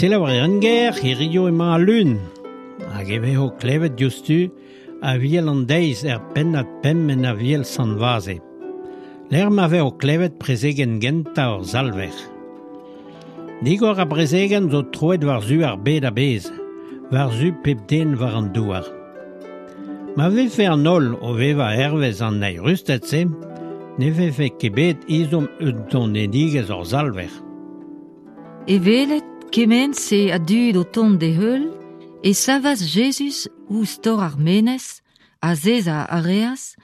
Selaouerien ger, hirio emañ al Lun, hag e vezo klevet diouzhtu Aviel an deiz er pennad pemp en Aviel Sant-Vaze. Lec'h ma vezo klevet prezegenn gentañ hor Salver. Digor ar brezegenn zo troet war-zu ar bed a-bezh, war-zu pep den war an douar. Ma vefe an holl o vevañ hervez an eürusted-se, ne vefe ket bet ezhomm eus donedigezh hor Salver. É welet kement-se a dud o tont d'e heul, e savas Jezuz ouzh tor ar menez, azezañ a reas,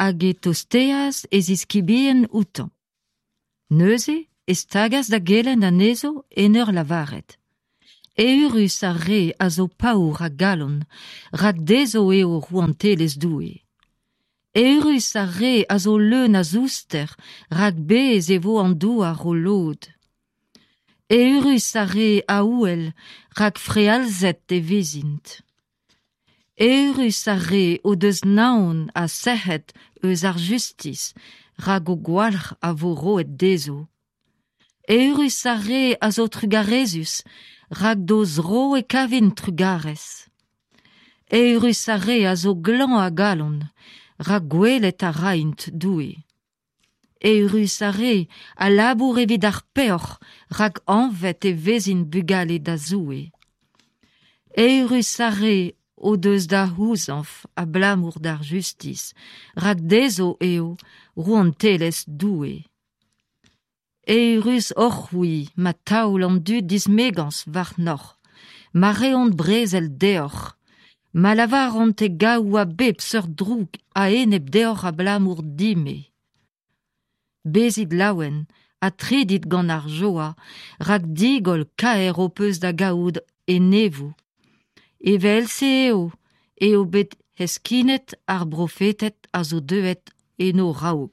hag e tosteas e ziskibien outañ. Neuze e stagas da gelenn anezho en ur lavaret: Eürus ar re a zo paour a galon, rak dezho eo rouantelezh Doue. Eürus ar re a zo leun a zouster, rak bez' e vo an douar o lod. Eürus ar re a ouel, rak frealzet e vezint. Eürus ar re o deus naon ha sec'hed eus ar justis, rak o gwalc'h a vo roet dezho. Eürus ar re a zo trugarezus, rak d'o zro e kavint trugarez. Eürus ar re a zo glan a galon, rak gwelet a raint Doue. Eürus ar re a labour evit ar peoc'h, rak anvet e vezint bugale da Zoue. Eürus ar re o deus da c'houzañv abalamour d'ar justis, rak dezho eo rouantelezh Doue. Eürus oc'h-c'hwi ma taol an dud dismegañs warnoc'h, ma reont brezel deoc'h, ma lavaront e gaou a bep seurt droug a-enep deoc'h abalamour din-me. Bezit laouen ha tridit gant ar joa, rak digoll kaer ho peus da gaout enevoù. Evel-se eo eo bet heskinet ar brofeted a zo deuet en ho raok.